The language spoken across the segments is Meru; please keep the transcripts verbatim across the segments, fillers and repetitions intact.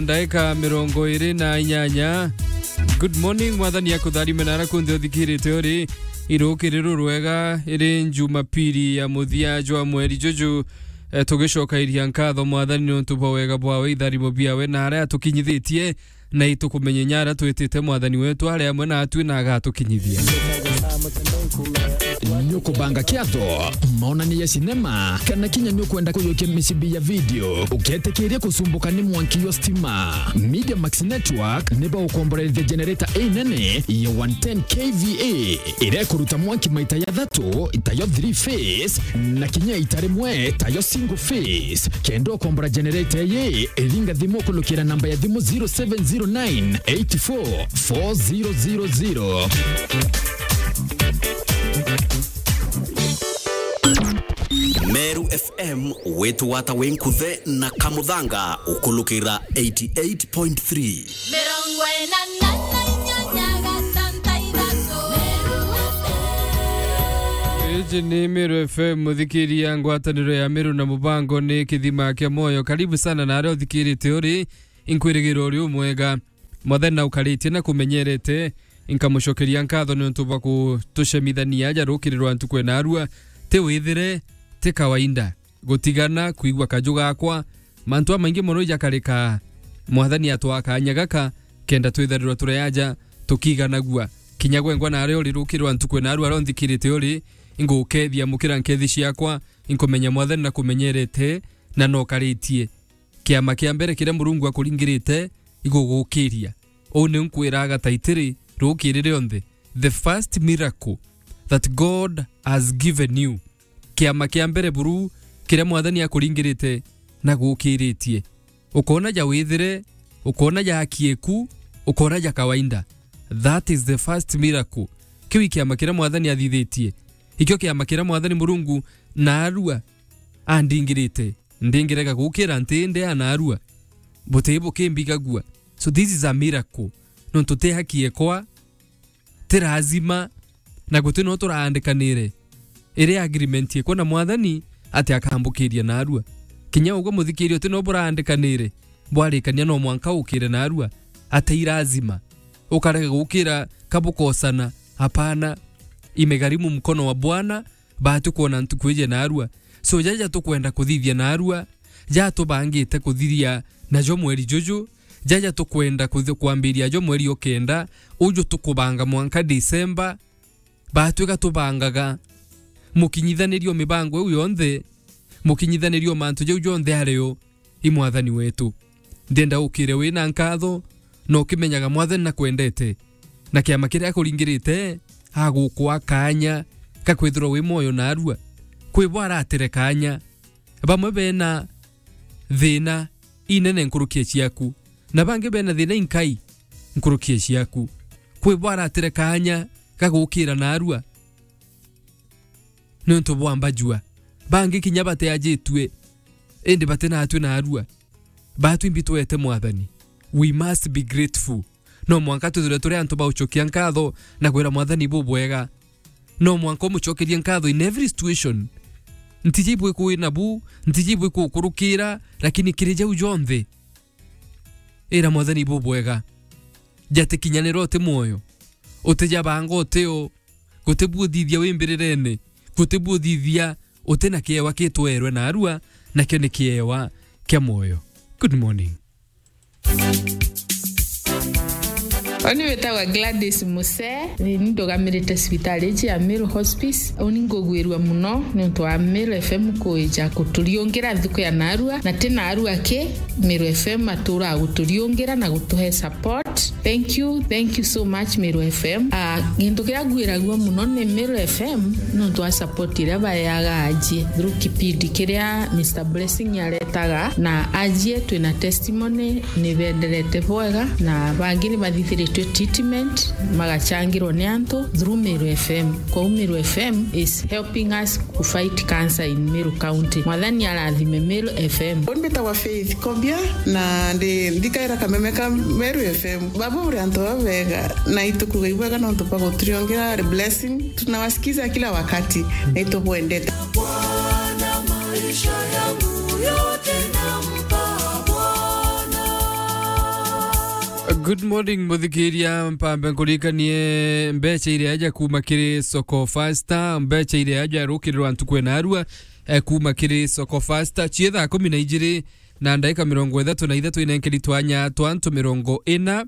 Ndaika mirongo iri na inyanya. Good morning, Mwathani akutharime na ara kunthe uthikirite uri. Irukiriro rwega, iri Jumapili ya muthia jwa mweri juju. Eh, tugicokairia nkatho Mwathani niuntu bwa wega bwawe, itharimo biawe na aria atukinyithitie, na itukumenye nyara twitite Mwathani wetu ari amwe natwi na agatukinyithia. Nukubanga kiatho, maonania ya sinema, kana kinya nukwenda kuyukia micibi ya video, uketikiria kusumbuka ni mwanki yo stima? Media Max Network niba ukomborerithia generator inene ya one ten K V A, iria ikuruta mwanki maita ya thatu, ita yo three phase, na kinya ita rimwe, ta yo single phase. Kenda ukombora generator iyi, iringa thimu kulukira namba ya thimu zero seven zero nine eight four four zero zero zero. Meru F M, wetu wata wenkuthe na kamuthanga ukulukira eighty eight point three. Mirongo ina na inyanya gatanta ithatu. Iji ni Meru F M, muthikiria ngwataniro ya Meru na mubango ni kithima kia moyo. Karibu sana na aria uthikirite uri, inkwirigira uri umwega. Mwathani na ukaritie na kumenyerete, inkamucokeria nkatho niuntu bwa kutucemithania aja rukiri rwa ntuku ena arua. Ti withire, ti kawaida. Gutigana, kwigua kaju gakwa, mantu amaingi mono ijakarika. Mwathani atwaa kanya gaka, kenda twitharirwa turi aja, tukiganagua. Kinya gwengwa na aria uri rukiri rwa ntuku ena arua aria unthikirite uri, ingukethia mukira nkethi ciakwa, inkumenya Mwathani na kumenyerete, na nokaritie. Kiama kia mbere kiria Murungu akuringirite igugukiria. Uu niu nkwiraga taitiri rukiri rionthe. The first miracle that God has given you. Kiama kia mbere buru kiria Mwathani akuringirite na gukiritie. Ukona ja withire, ukona ja akieku, ukona ja kawaida. That is the first miracle. Kiu i kiama kiria Mwathani athithitie. Ikio kiama kiria Mwathani Murungu na arua andingirite. Ndingirega gukira nti indi ana arua. Buti bukimbigagua. So this is a miracle. Nontu ti haki ekwa, ti lazima, na guti no turaandikanire. Iri agreement ekwa na Mwathani ati akambukiria na arua. Kinya ugwe muthikiria uti no buraandikanire, bwarikania no mwanka ukire na arua. Ati i lazima. Ukarega gukira kabukosana. Hapana. Imegharimu mkono wa Bwana, baatu kwona ntuku iji na arua. So, jaja tukwenda kuthithia na arua, ja tubangite kuthiria najo mweri juju, jaja tukwenda kuthi-, kwambiria jo mweri o kenda, uju tukubanga mwanka December, baatwika tubangaga mukinyithanirio mibango iu yonthe, mukinyithanirio mantu jau jonthe ari o. I Mwathani wetu. Ndienda ukire wina nkatho, na ukimenyaga Mwathani nakwendete, na kiama kiria akuringirite agukwa kanya ka kwithirwa wi mwoyo na arua. Kwi bo aratire kanya, bamwe bena thina inene nkuruki ya ciaku, na bangi bena thina inkai nkuruki ya ciaku. Kwi bo aratire kanya ga gukira na arua, niuntu bwa mbajua. Bangi kinya bateajitue, indi batinatue na arua. Baatu imbi twete Mwathani. We must be grateful. No mwanka twithirwe turi antu ba ucokia nkatho na kwira Mwathani bubwega. No mwanka umucokerie nkatho in every situation. Ntiji ibwiku wina bu, ntiji ibwiku ukurukira, lakini kiri jau jonthe, ira Mwathani bubwega. Jatikinyanira uti mwoyo, utijabanga utio, guti bu uthithia wi mbirirene, guti bu uthithia uti na kiewa kitwerwe na arua, nakio ni kiewa kia mwoyo. Good morning. Oni witagwa Gladys Muse, ni ndugamirite cibitari iji ya Meru Hospice. Uni ngugwirua muno niuntu wa Meru F M kuija kuturiungira nthuku ya narua, na ti narua ki, Meru F M atura guturiungira na gutuhe support. Thank you, thank you so much, Meru F M. Ah, gintu kiria ngwiragua muno ni Meru F M, nontu wa support iria baeaga ajie through kipindi kiria Mister Blessing aretaga, na ajie twina testimony ni benderete bwega, na bangi ni bathithiritwe treatment, magachangirwa ni antu through Meru F M. Kwou Meru F M is helping us ku fight cancer in Meru County. Mwathani arathime Meru F M. Uni mbitagwa Faith Kobia, na ndi ndikaira kameme ka Meru F M. Baba uri antu babega, na itukuga ibwega nontu bwa guturiongera blessing. Tunawasikiza kila wakati, na itubwendete. Bwana, maisha yangu yote nampa Bwana. Good morning, muthikiria. Mpambe nkuririkanie mbeca iria aja kuuma kiri Soko Fasta, mbeca iria aja rukirirwa ntuku ena arua, eh, kuuma kiri Soko Fasta. Cie thaa kumi na ijiri na ndaika mirongo ithatu na ithatu, inenkeri twanya twa antu mirongo ina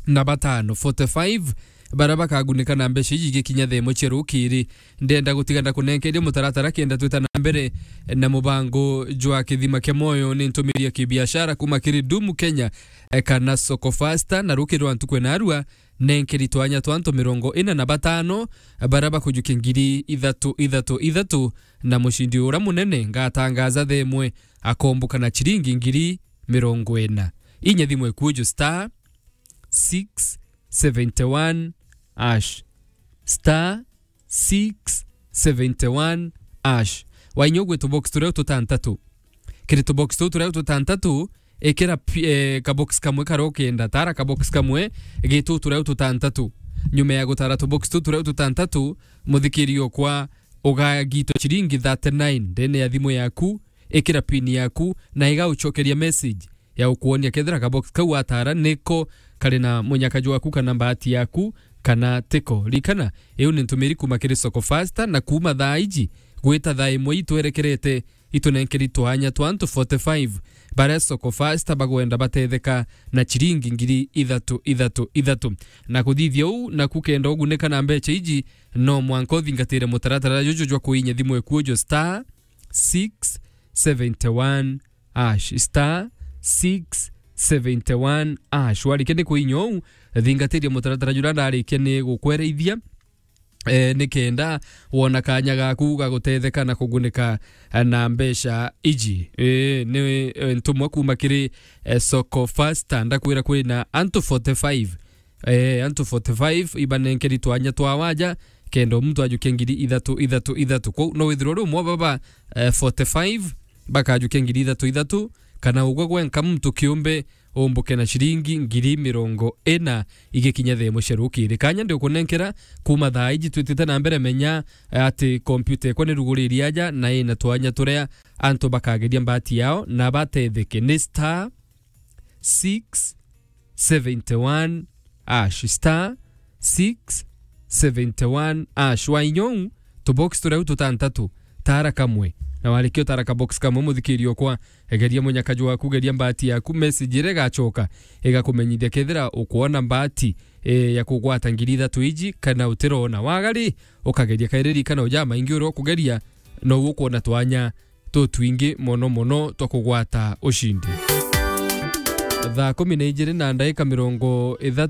na batano, forty-five, baria bakagunika na mbeca iji igikinya thaa imwe cia rukiri. Ndenda gutiga ndakunenkeria mutaratara kenda twita na mbere na mubango jwa kithima kia moyo. Ni ntumiri ya kibiashara kuuma kiri Dumu Kenya, eh, kana Soko Fasta, na rukiri rwa ntuku ena arua, nenkeri twanya twa antu mirongo ina na batano, baria bakujukia ngiri ithatu, ithatu, ithatu, na mucindi uria munene ngatangaza thaa imwe akomboka na ciringi ngiri mirongo ina. Inya thimu ikuju star six seventy one hash. Star six seventy one hash. Wainya ugwe tubox turia tutantatu. Kiri tubox tu turia tutantatu, ikira pi-, eh, kabox kamwe karia ukenda, tara kabox kamwe gitu turia tutantatu. Nyuma ya gutara tubox tu turia tutantatu, muthikiri okwa ugagitwa ciringi thirty nine ndene ya thimu yaku, ikira pin yaku, na igaucokeria message ya gukwonia kethira kabox kau watara niko kari na munyaka jwaku kana mbati yaku kana tiko. Rikana, iu ni ntumiri kuuma kiri Soko Fasta, na kuuma thaa iji gwita thaa imwe itwerekerete, itunenkeri twanya twa antu forty-five baria Soko Fasta bagwenda batetheka na ciringi ngiri ithatu, ithatu, ithatu. Na kuthithia uu, naku kenda ugunika na mbeca iji, no mwanka uthingatire mutaratara juju jwa kuinya thimu ikuju star six seventy one hash, star six seventy one hash. Warikia ni kuinya uu, thingatiria mutaratara juria ndarikia ni gukwereithia, eh, ni kenda wona kanya gaku ga gutetheka na kugunika, eh, na mbeca iji. Eh, ni, eh, ntumwa kuuma kiri, eh, Soko Fasta, ndakwira kwina antu forty-five. Eh, antu forty-five ibanenkeri twanya twa waja, kenda muntu ajukia ngiri ithatu, ithatu, ithatu. Kwou no withirwe uri umwe baba, eh, forty-five bakajukia ngiri ithatu, ithatu, kana ugwe gwenka muntu kiumbe umbuke na ciringi ngiri mirongo ina igikinya thaa imwe cia rukiri. Kanya ndi ukunenkera kuuma thaa iji twitite na mbere, menya, eh, ati kompyuta ekwa ni ruguriri aja na ina twanya turia antu bakageria mbati yao na batetheke. Ni star six seventy one hash, star six seventy one hash. Wainya uu, tubox turia tutantatu, tara kamwe. Na warikia utara kabox kamwe, muthikiri okwa, egeria munyaka jwaku, geria mbati yaku, message iria igacoka igakumenyithia kethira ukwona mbati, eh, ya kugwata ngiri ithatu iji kana utirona. Waga ri, ukageria kairi, rikana uja maingi uria ukugeria, no ukwona twanya tutwingi mono mono twa kugwata ucindi. Thaa kumi na ijiri na ndaika mirongo ithatu